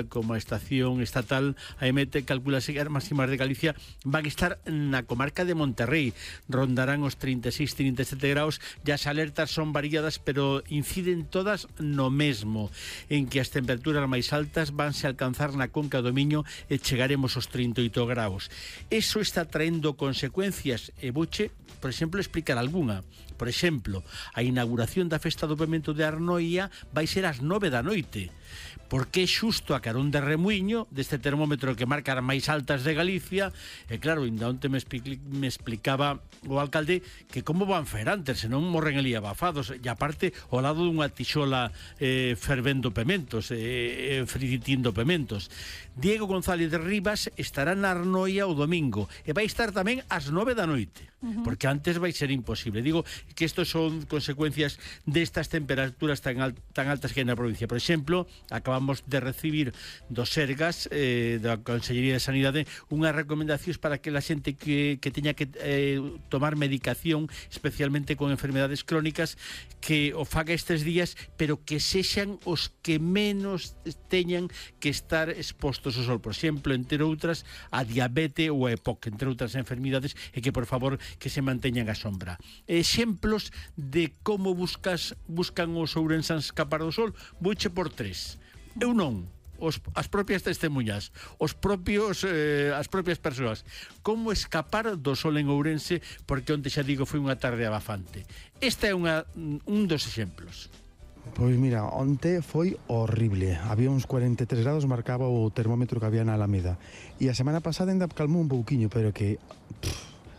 como a estación estatal, a EMET calculase que as máximas de Galicia van a estar na comarca de Monterrey, rondarán os 36-37 graus, e as alertas son variadas, pero inciden todas no mesmo, en que as temperaturas máis altas vanse a alcanzar na conca do Miño e chegaremos aos 38 graus. Eso está traendo consecuencias, e vouche, por exemplo, explicar algunha. Por exemplo, a inauguración da Festa do Pemento de Arnoia vai ser ás 9 da noite, porque é xusto a carón de Remuiño, deste termómetro que marca as máis altas de Galicia, e claro, ainda onte me explicaba o alcalde que como van fer antes, senón morren ali abafados, e aparte ao lado dunha tixola fervendo pementos, frititindo pementos. Diego González de Rivas estará na Arnoia o domingo, e vai estar tamén ás 9 da noite, porque antes vai ser imposible. Digo que estos son consecuencias destas temperaturas tan altas que hai na provincia. Por exemplo, acabamos de recibir do Sergas, da Consellería de Sanidade, unhas recomendacións para que a xente que teña que tomar medicación, especialmente con enfermedades crónicas, que o faga estes días, pero que sexan os que menos teñan que estar expostos ao sol. Por exemplo, entre outras, a diabetes ou a EPOC, entre outras enfermidades, e que, por favor, que se manteñan a sombra. Exemplos de como buscan os ourensáns escapar do sol, vouche por 3. Eu non, as propias testemunhas, as propias persoas. Como escapar do sol en Ourense, porque onte xa digo foi unha tarde abafante. Este é un dos exemplos. Pois mira, onte foi horrible. Había uns 43 grados, marcaba o termómetro que había na Alameda. E a semana pasada ainda calmou un pouquiño, pero que...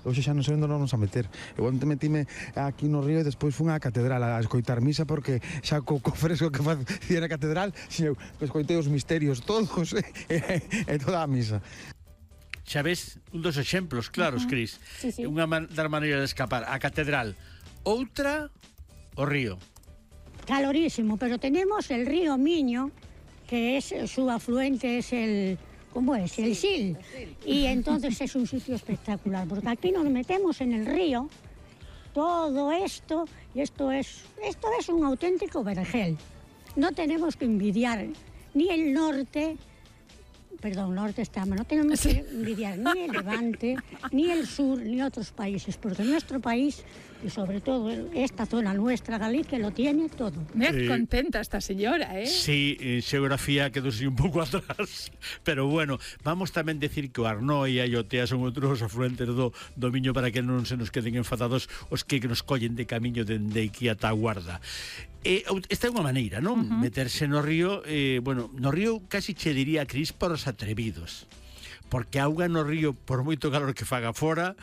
hoxe xa non sei onde nos a meter. Eu onte metime aquí no río e despois fun á catedral a escoitar misa, porque xa co fresco que facía na catedral, eu escoitei os misterios todos e toda a misa. Xa ves, un dos exemplos claros, Cris. Sí. Unha das maneiras de escapar. A catedral. Outra, o río. Calorísimo, pero tenemos el río Miño, que es su afluente, es el... ¿Cómo es? El Sil. Y entonces es un sitio espectacular, porque aquí nos metemos en el río, todo esto, y esto es un auténtico vergel. No tenemos que envidiar ni el norte, no tenemos que envidiar ni el Levante, ni el sur, ni otros países, porque nuestro país, y sobre todo esta zona nuestra, Galicia, lo tiene todo. Me contenta esta señora, ¿eh? Sí, xeografía quedóse un pouco atrás, pero bueno, vamos tamén decir que o Arnoia e o Tea son outros afluentes do Miño, para que non se nos queden enfadados os que nos collen de camiño dende aquí ata a Guarda. Esta é unha maneira, non? Meterse no río, no río casi che diría, Cris, para os atrevidos, porque a auga no río, por moito calor que faga fora,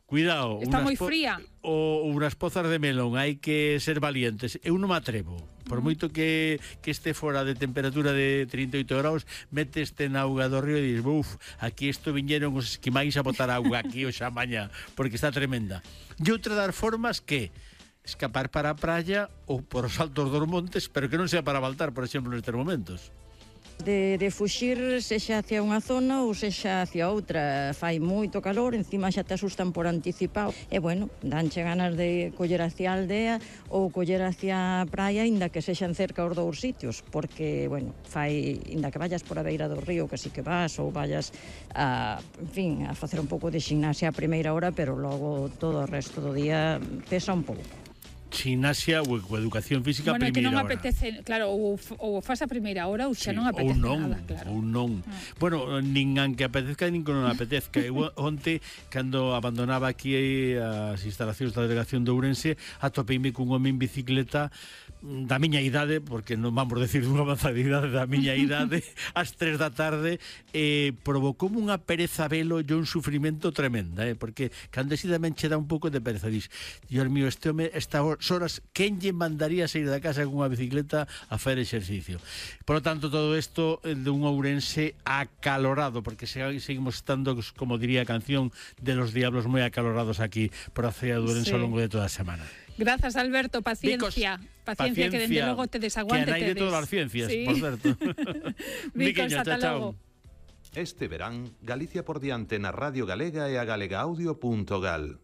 cuidado, está moi fría, ou unhas pozas de melón, hai que ser valientes. Eu non me atrevo, por moito que este fora de temperatura de 38 graus, meteste na auga do río e dices, aquí isto viñeron os esquimáis a botar auga aquí hoxe a mañá, porque está tremenda. E outra das formas que escapar para a praia ou por os altos dos montes, pero que non sea para baltar, por exemplo, nestes momentos. De fuxir sexa hacia unha zona ou sexa hacia outra. Fai moito calor, encima xa te asustan por anticipado. E bueno, danche ganas de coller hacia a aldea ou coller hacia a praia, inda que sexan cerca os dous sitios, porque, bueno, inda que vayas por a beira do río, que si que vas, ou vayas a facer un pouco de ximnasia a primeira hora, pero logo todo o resto do día pesa un pouco. Ximnasia ou educación física a primeira hora. Bueno, que non apetece, claro, ou faz a primeira hora ou xa non apetece nada, claro. Ou non. Bueno, nin que apetezca, nin que non apetezca. Onte, cando abandonaba aquí as instalacións da delegación de Ourense, atopeime cun home en bicicleta da miña idade, porque non vamos decir dunha avanzada idade, da miña idade, ás 3 da tarde, provocoume unha pereza velo e un sufrimento tremenda, porque cando tamén che dá un pouco de pereza, dis, Dios mío, este home, estas horas, quen lle mandaría sair da casa con unha bicicleta a facer exercicio? Por lo tanto, todo isto de un Ourense acalorado, porque seguimos estando, como diría a canción de Los Diablos, moi acalorados aquí por a cidade de Ourense ao longo de toda a semana. Grazas, Alberto, paciencia. Paciencia, que dende logo te desaguante. Que hai de todas as ciencias, sí. Por certo. Vicos, ata logo. Este verán, Galicia por diante na Radio Galega e a galegaaudio.gal.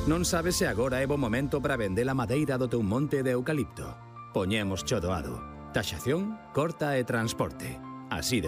Non sabes se agora é bo momento para vender a madeira do teu monte de eucalipto. Poñemos cho doado. Taxación, corta e transporte. así de